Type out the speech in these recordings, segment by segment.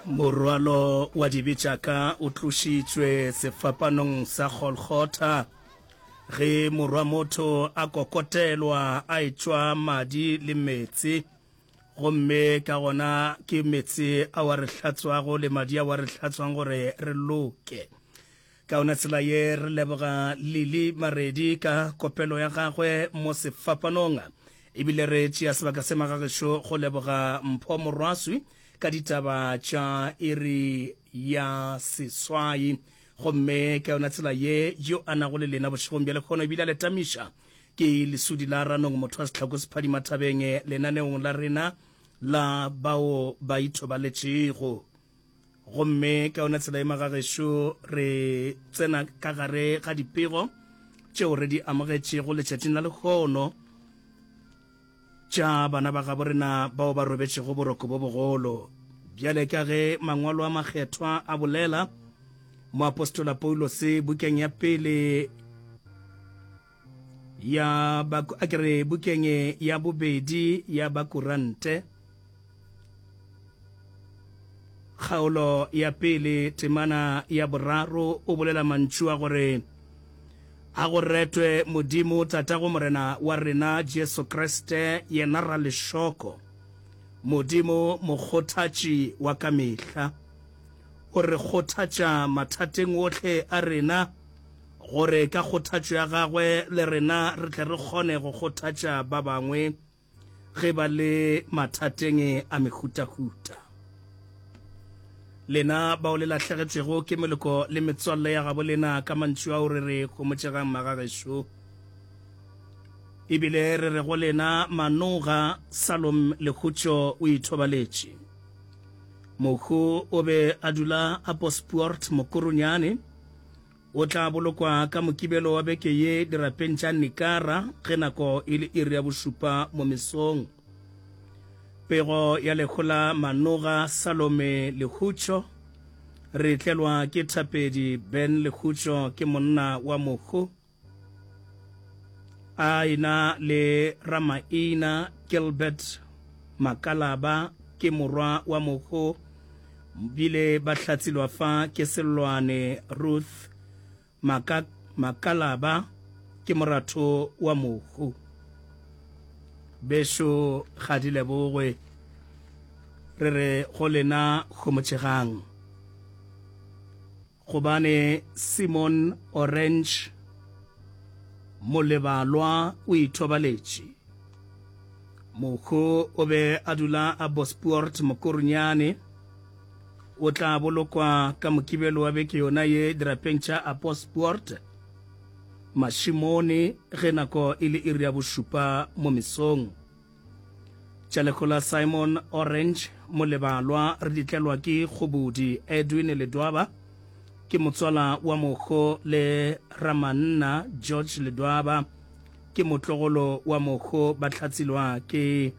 Morwalo wa dibe tša ka o tlošitšwe sefapanong sa Golgotha, ge Morwa-motho a kokotelwa a etšwa madi le meetse, gomme ka gona ke meetse ao a re hlatswago le madi ao a re hlatswang gore re loke. Ka yona tsela ye re leboga Lily Maredi ka kopelo ya gagwe mo sefapanong. Ebile re tšea sebaka se magagešo go leboga Mpho Morwaswi ka ditaba tša iri ya seswai. Gomme ka yona tsela ye yo a nago le lena bošegong bja lehono ebile a le tamiša ke Lesudi la Ranong motho wa Sehlako Sephadima Thabeng lenaneong la rena la bao ba ithobaletšego. Gomme ka yona tsela e magagešo re tsena ka gare ga dipego tšeo re di amogetšego letšatšing la lehono tša bana ba gabo rena bao ba robetšego boroko bo bogolo. Bjale ka ge mangwalo a makgethwa a bolela, moapostola Paulose bukeng ya pele ya ba a ke re bukeng ya bobedi ya Bakurante kgaolo ya pele temana ya boraro o bolela mantšu a gore a go retwe Modimo Tatago Morena wa rena Jesu Kriste yena ralešoko Modimo mokgothatši wa ka mehla o re kgothatša mathateng ohle a rena gore ka kgothatšo ya gagwe le rena re tle re kgone go kgothatša ba bangwe ge ba le mathateng a mehutahuta. Lena bao le lahlegetšwego ke meloko le metswalle ya gabo lena, ka mantšu ao re re homotšegang magagešo, ebile re re go lena Manoga Salom Lehutšo o ithobaletše. Mohu o be a dula a Bospoort Mokurunyane. O tla bolokwa ka Mokibelo wa beke ye dirapeng tša Nikara ge nako e le iri ya bošupa mo mesong. Pego ya lehu la Manoga Salome Lehutšo re tlelwa ke Thapedi Ben Lehutšo ke monna wa mohu a ena le Ramaina Gilbert Makalaba ke morwa wa mohu bile ba hlatsilwa fa ke Sellwane Ruth Maka, Makalaba ke moratho wa mohu. Bešo ga di lebogwe, re re go lena homotšegang. Gobane Simon Orange Molebalwa o ithobaletše. Mohu o be a dula a Bospoort Mokorunyane. O tla bolokwa ka Mokibelo wa beke yona ye dirapeng tša Apospoort, Mashimone ge nako e le iri ya bošupa mo mesong. Tša lehu la Simon Orange Molebalwa re di tlelwa ke Kgobodi Edwin Ledwaba, ke motswala wa mohu le Ramanna George Ledwaba, ke motlogolo wa mohu ba hlatsilwa ke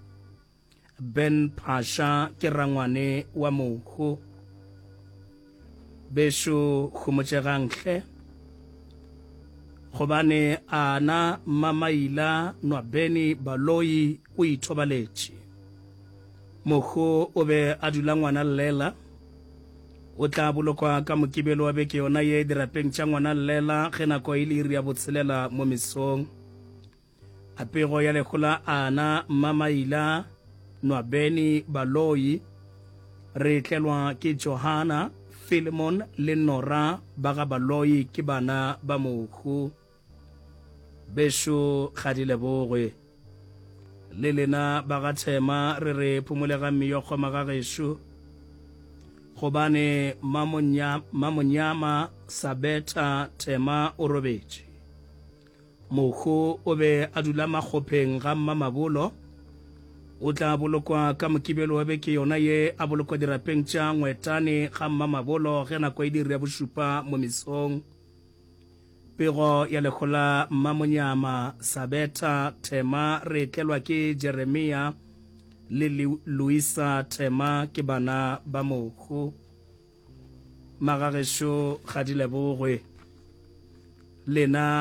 Ben Phasha ke rangwane wa mohu. Bešo homotšegang hle, gobane ana Mmamaila Nwabeni Baloyi o ithobaletše. Mohu o be a dula ngwana llela. O tla bolokwa ka Mokibelo wa beke yona ye dirapeng tša ngwana llela ge nako e le iri ya botshelela mo mesong. A pego ya lehu la Ana Mmamaila Nwabeni Baloyi re tlelwa ke Johana, Philemon le Nora ba ga Baloyi ke bana ba mohu. Bešo ga di lebogwe. Le lena ba ga Thema re re phumolegang meyokgo magagešo gobane Mmamonyama Sabetha Thema o robetše. Mohu o be a dula makgopheng ga Mmamabolo. O tla bolokwa ka Mokibelo wa beke yona ye, a bolokwa dirapeng tša Ngwetane ga Mmamabolo ge nako e le iri ya bošupa mo mesong. Pego ya lehu la Mmamonyama Sabetha Thema re tlelwa ke Jeremia le Luisa Thema ke bana ba mohu. Magagešo ga di lebogwe. Lena.